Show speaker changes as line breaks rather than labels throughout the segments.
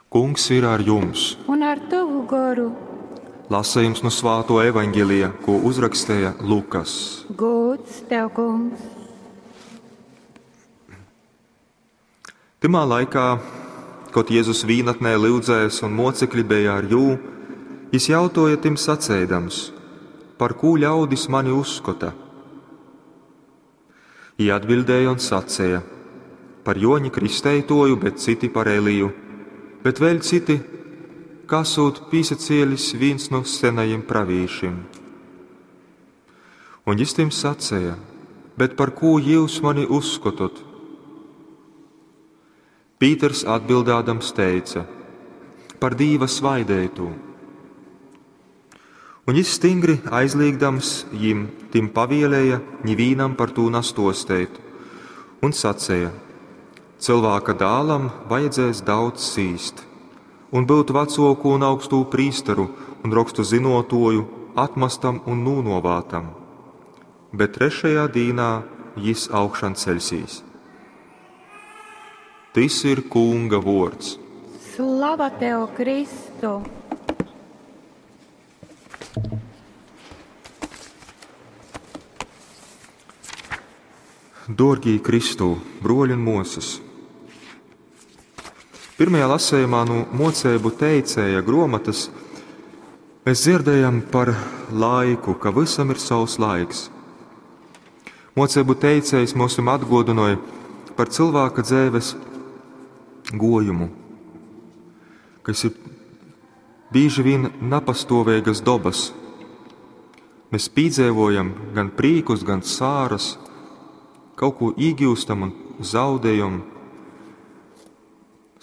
Kungs ir ar jums!
Un ar tovu goru.
Lasījums no Svāto evaņģelija, ko uzrakstīja Lukas.
Gods tev, kungs!
Tymā laikā, kad Jēzus vīnatnē lyudzēs un mocekļi bija ar jū, jis jautoja tim saceidams, par kū ļaudis mani uzskota? Jī atbildēja un saceja, par Joņa kristeitoju, bet citi par Eliju, bet vēļ citi, ka esot pīsacielis vīns nu senajiem pravīšim. Un jis tim saceja, bet par kū jūs mani uzskotot? Pīters atbildādams teica, par Dīva svaidētū. Un jis stingri aizliegdams jim tim pavielēja nivīnam par tū nastosteit, un saceja, cilvēka dālam vajadzēs daudz cīst, un būt vecoku un augstū prīsteru un rokstu zinotoju atmastam un nūnovātam, bet trešajā dīnā jis augšan ceļsīs. Tys ir Kunga vords.
Slava tev, Kristu!
Dorgī Kristū, broļi un mosas! Pirmajā lasējumā no mocēbu teicēja gromatas mēs dzirdējam par laiku, ka visam ir savs laiks. Mocēbu teicējs mums atgodinoja par cilvēka dzēves gojumu, kas ir bieži vien napastovēgas dobas. Mēs pīdzēvojam gan prīkus, gan sāras, kaut ko iegūstam un zaudējam,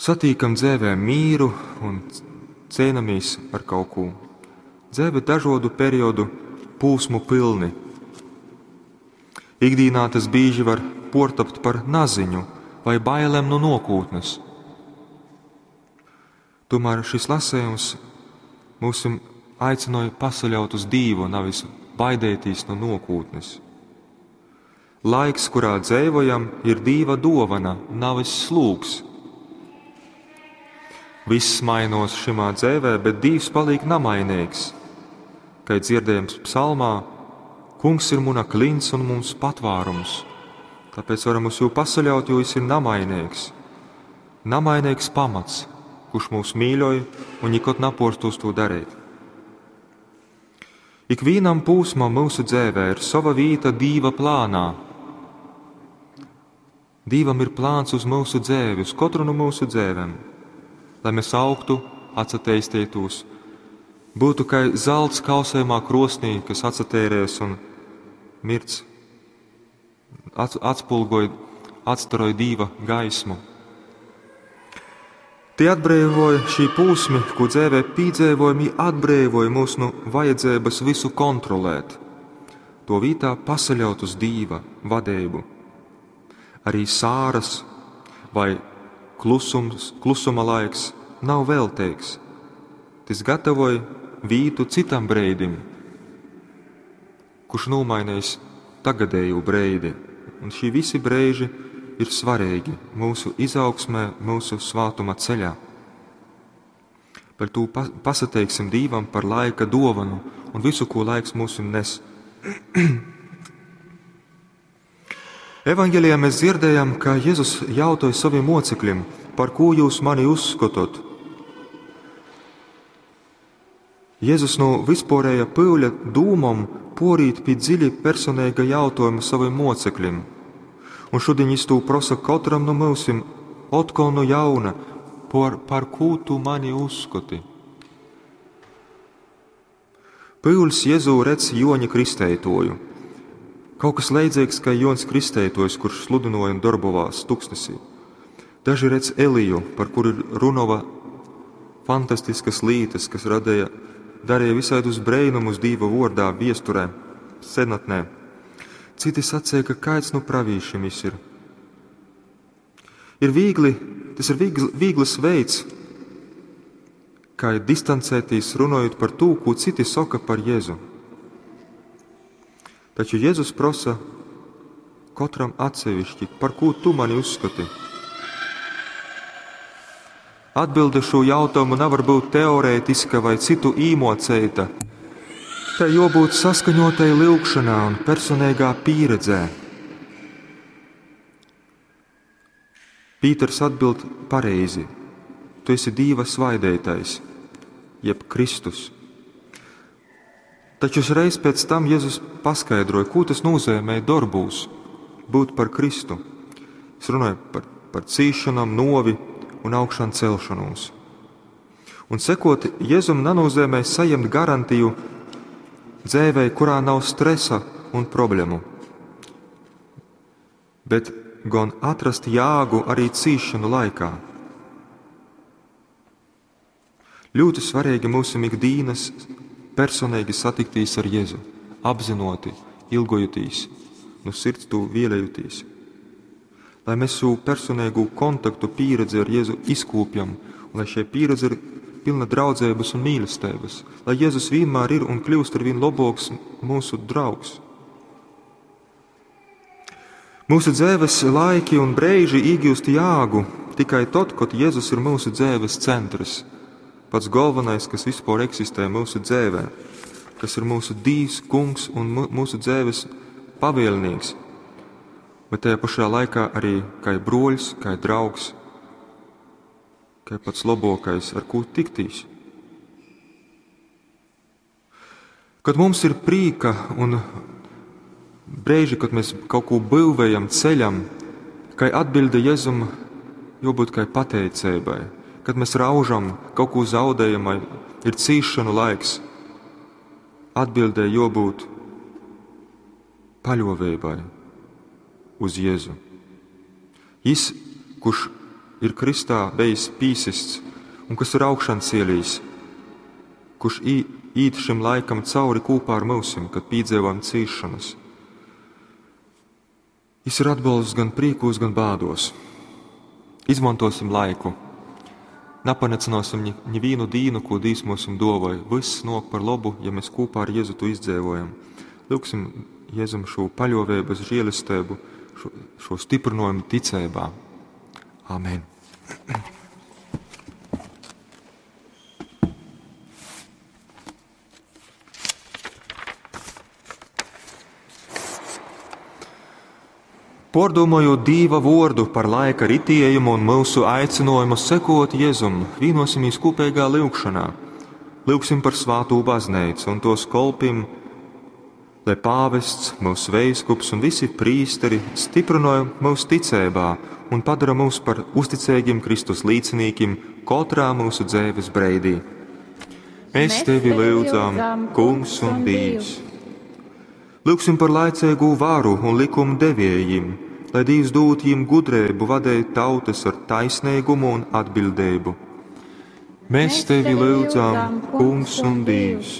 satīkam dzēvē mīru un cēnamies ar kaut ko. Dzēve dažādu periodu pūsmu pilni. Ikdīnā tas bieži var portapt par naziņu vai bailēm no nokūtnes. Tomēr šis lasējums mūs aicināja pasaļaut uz Dīvu, nevis baidēties no nokūtnes. Laiks, kurā dzēvojam, ir Dīva dovana, nevis slūgs. Viss mainos šimā dzēvē, bet Dīvs paliek namainīgs. Kā dzirdējams psalmā, Kungs ir muna klints un mums patvārums, tāpēc varam uz jū pasaļaut, jo jis ir namainīgs. Namainīgs pamats, kurš mūs mīļoja un nikod naporstos to darīt. Ikvienam pūsmam mūsu dzēvē ir sava vīta Dīva plānā. Dīvam ir plāns uz mūsu dzēvi, uz katru no mūsu dzēvēm, lai mēs augtu, atsateistītos, būtu kā zelts kausējumā krosnī, kas atsatērēs un mirts, atspulgoja, atstaroja Dīva gaismu. Tie atbrīvoja šī pūsmi, ko dzēvē pīdzēvojami, atbrīvoja mūs no vajadzības visu kontrolēt. To vītā pasaļaut uz Dīva vadību. Arī sāras vai klusums, klusuma laiks nav veltīgs. Tas gatavoja vītu citam breidim, kurš nomainījis tagadēju breidi. Un šī visi breiži ir svarīgi mūsu izaugsmē, mūsu svātuma ceļā. Par to pasateiksim Dīvam par laika dovanu un visu, ko laiks mums nes. Evanģelijā mēs dzirdējam, ka Jēzus jautāja saviem mocekļiem, par ko jūs mani uzskotot. Jēzus no vispārēja pūļa dūmam porīt pie dziļi personīga jautājuma saviem mocekļiem. Un šodien viņš to prosa katram no mūsim, otkon no jauna, par ko tu mani uzskati? Pūlis Jēzū redz Joņa kristeitoju. Kaut kas leidzīgs kā Jons Kristeitojs, kurš sludinoja un darbovās tuksnesī. Daži redz Eliju, par kuru runova fantastiskas lītas, kas radīja, darīja visādus breinumus Dīva vordā, viesturē, senatnē. Citi sacīja, ka kāds no pravīšiem jis ir. Ir viegli, tas ir viegli, viegls veids, kā ir distancēties runājot par to, ko citi saka par Jēzu. Taču Jēzus prasa katram atsevišķi, par ko tu mani uzskati. Atbilde šū jautājumu navar būt teorētiska vai citu īmoceita. Tai jobūt saskaņotai lyugšanā un personīgā pieredzē. Pīters atbild pareizi. Tu esi Dīva svaidētais, jeb Kristus. Taču uzreiz pēc tam Jēzus paskaidroja, ko tas nozīmē darbūs būt par Kristu. Es runāju par cīšanām, novi un augšām celšanos. Un sekot Jēzum nenozīmē saņemt garantiju dzēvei, kurā nav stresa un problēmu, bet gan atrast jāgu arī cīšanu laikā. Ļoti svarīgi mūsu ikdienas personīgi satiktīs ar Jēzu, apzinoti, ilgojotīs, no sirds tu vēlējotīs. Lai mēs savu personīgo kontaktu pieredzi ar Jēzu izkūpjam, un lai šie pieredze ir pilna draudzības un mīlestības, lai Jēzus vienmēr ir un kļūst ar vien labāks mūsu draugs. Mūsu dzīves laiki un brīži iegūst jāgu tikai tad, kad Jēzus ir mūsu dzīves centrs, pats galvenais, kas vispār eksistē mūsu dzīvē, kas ir mūsu Dīvs, Kungs un mūsu dzīves pavēlnieks, bet tajā pašā laikā arī kā broļs, kā draugs, kā pats labākais, ar ko tiktīs. Kad mums ir prīka un brīži, kad mēs kaut ko būvējam, ceļam, kai atbilde Jēzum jābūt kai pateicībai. Kad mēs raužam, kaut ko zaudējam, ir cīšanu laiks, atbildē jābūt paļovībai uz Jēzu. Jis, kurš ir Kristā bijis pīsists un kas ir augšan cielījis, kurš īt šim laikam cauri kopā ar mūsim, kad piedzīvojam cīšanas. Jis ir atbalsts gan prīkos, gan bādos. Izmantosim laiku. Napanecinosim ņi vīnu dīnu, ko Dīvs mūsim dovoj. Viss nok par labu, ja mēs kopā ar Jēzu to izdzēvojam. Lūksim Jēzum šo paļovības žēlistību, šo stiprinājumu ticībā. Amen. Pordomojot Dīva vordu par laika ritējumu un mūsu aicinājumu sekot Jēzum, vienosimies kopīgā lūgšanā. Lūgsim par svātū baznīcu un tos kolpim, lai pāvests, mūsu veiskups un visi prīsteri stiprināja mūsu ticībā un padara mūs par uzticīgiem Kristus līdzinīkiem katrā mūsu dzīves breidī. Mēs tevi lūdzam, Kungs un Dievs. Lūgsim par laicīgu varu un likumu devējiem, lai Dievs dod jiem gudrību vadīt tautas ar taisnīgumu un atbildību. Mēs tevi lūdzam, Kungs un Dievs.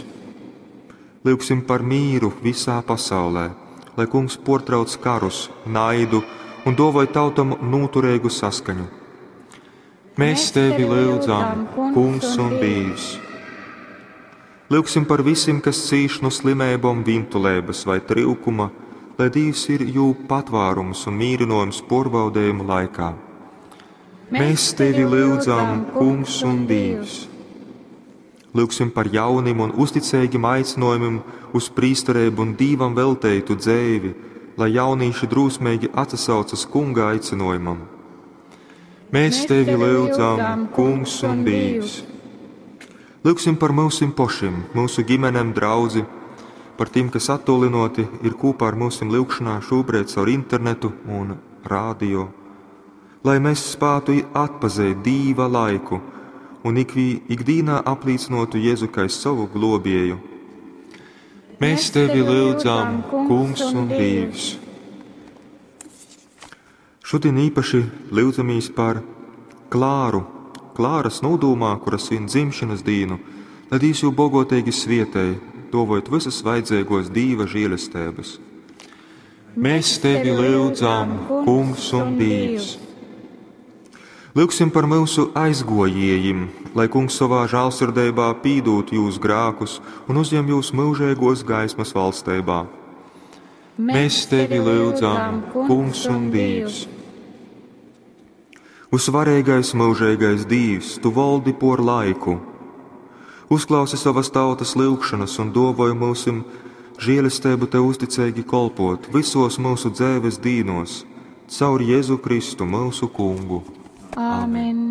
Lūgsim par mīru visā pasaulē, lai Kungs portrauc karus, naidu un dovoj tautam noturīgu saskaņu. Mēs tevi lūdzam, Kungs un Dievs. Lūgsim par visiem, kas cīš no slimībām, vintulības vai trūkuma, lai Dievs ir jū patvārums un mīrinojums porbaudējumu laikā. Mēs tevi lūdzam, Kungs un Dievs. Lūgsim par jaunim un uzticīgiem aicinājumiem uz prīsterību un Dīvam velteitu dzēvi, lai jaunīši drūsmīgi atsaucas Kunga aicinājumam. Mēs tevi lūdzam, Kungs un Dievs. Lūgsim par mūsim pošim, mūsu ģimenēm, draudzi, par tiem, kas attolinoti ir kopā ar mūsim lūgšanā šobrīd caur internetu un rādio, lai mēs spātu atpazīt Dīva laiku un ikdīnā apliecinotu Jēzu kā savu globieju. Mēs tevi lūdzam, Kungs un Dievs. Šodien īpaši lūdzamies par Klāru, Klāras nodūmā, kuras svin dzimšanas dīnu, lai Dievs jū bogotīgi svietēj, dovojot visas vajadzīgos Dīva žēlestības. Mēs tevi lūdzam, Kungs un Dievs. Lūgsim par mūsu aizgojējiem, lai Kungs savā žēlsirdībā pīdūt jūs grākus un uzņem jūs mūžīgos gaismas valstībā. Mēs tevi lūdzam, Kungs un Dievs. Vysvareigais, myužeigais Dīvs, tu voldi pōr laiku. Uzklausi sovas tautas lyugšonas un dōvoj myusim želesteibu tev uzticeigi kolpōt vysōs myusu dzeives dīnōs, caur Jezu Kristu, myusu Kungu.
Amen.